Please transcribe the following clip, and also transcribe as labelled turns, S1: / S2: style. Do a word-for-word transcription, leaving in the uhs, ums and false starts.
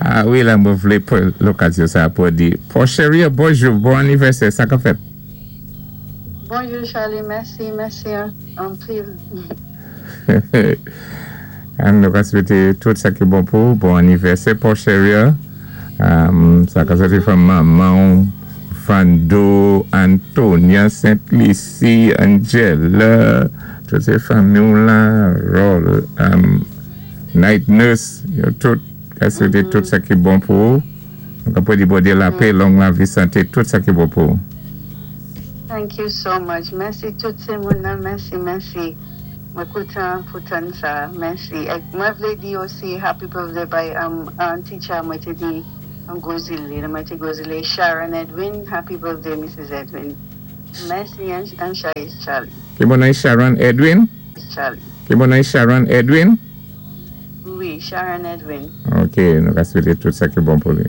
S1: Ah wi, la, mwen vlé pwan lokazyon sa pou di, Porcheria, bonjou, bon anivèsè, sa ka fèt?
S2: Bonjou Charlie, mèsi, mèsi anpil.
S1: An nou ka swété tout sa ki bon pou, bon anivèsè Porcheria. Um, sa ka soti from manman, Fando, Antonia, Saint-Lucie, Angela, tout sé fanmi la, Roll, um, Night Nurse, yo tout, ka swété tout sa ki bon pou. Nou ka pou di Bondyé lapè, long lavi, santé, tout sa ki bon pou.
S2: Thank you so much. Mèsi tout sé moun nan, mèsi, mèsi. Mwen kontan pou tann sa, mèsi. Ek mwen vlé di osi happy birthday bay um, an teacher mwen té di an Gozile, mwen té Gozile Sharon Edwin, happy birthday Mrs. Edwin. Mèsi an, an Charlie.
S1: Ki bon non Sharon Edwin?
S2: Charlie.
S1: Ki bon non Sharon Edwin?
S2: Wi, Sharon Edwin.
S1: Ok, nou ka swété tout sa ki bon pou li.